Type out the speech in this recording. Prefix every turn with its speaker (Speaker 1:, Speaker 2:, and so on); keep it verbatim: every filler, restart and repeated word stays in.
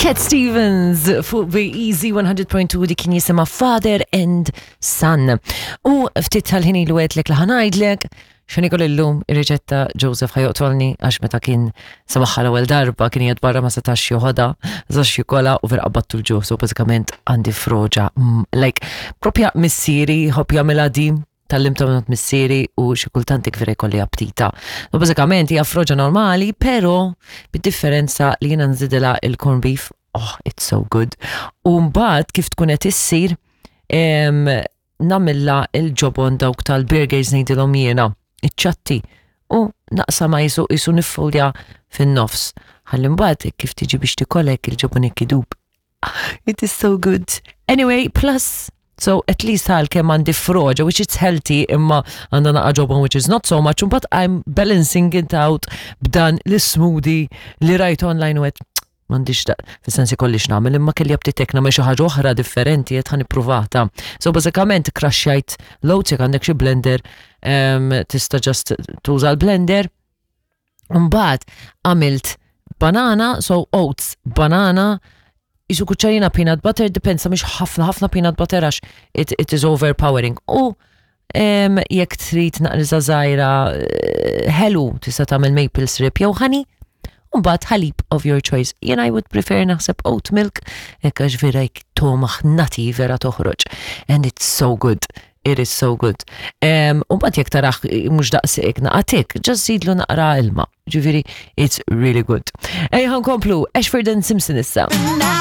Speaker 1: Cat Stevens fuq B Easy one hundred point two, di kien jisimha Father and Son. U ftit tal-ħin ilu għedtlek li ħa ngħidlek x'ħa niekol illum, ir-riċetta. Joseph ħa joqtolni għax meta kien semagħha l-ewwel darba kien qiegħed barra, ma setax joħodha, ma setax jikolha u vera qabadtu l-ġuħ. So bażikament għandi froġa, mm, like propja missieri ħobb jagħmilha di, tgħallimtha minn missieri u xi kultant vera jkolli aptita. U bażikament hija froġa normali, pero bid-differenza li jiena nżidilha il-corn beef. Oh, it's so good. U mbagħad kif tkun qed issir, em, nagħmilha il-ġobon, dawk tal-burgers ngħidilhom jiena, iċ-ċatti. U naqsamha qisu qisu niffoldja fin-nofs. Ħalli mbagħad kif tiġi biex tikolek il-ġobon idub. It is so good. Anyway, plus, so at least għal kemm għandi froġa, which is healthy, imma għandha naqa ġobon, which is not so much, but I'm balancing it out b'dan l-smoothie li rajt online u għedt m'għandix da, fis-sensi kollix nagħmel, imma kelli aptitek nagħmel xi ħaġa oħra differenti, qed ħa nippruvata. So bażikament crushjajt l-oats, jekk għandek xi blender, um, tista' just tuża l-blender. Mbagħad għamilt banana, so oats, banana, qisu kuċċarina peanut butter, depends, mhux ħafna ħafna peanut butter għax it, it is overpowering. U um, jekk trid naqra żgħira eh, ħelu, tista' tagħmel maple syrup jew honey, u mbagħad ħalib of your choice. Jien I would prefer naħseb oat milk, hekk għax vera jekk tomaħ nati vera toħroġ. And it's so good. It is so good. Um, u mbagħad jekk taraħ mhux daqshekk naqatik, just żidlu naqra ilma. Ġifieri, it's really good. Ejja nkomplu, Ashford and Simpson issa.
Speaker 2: Now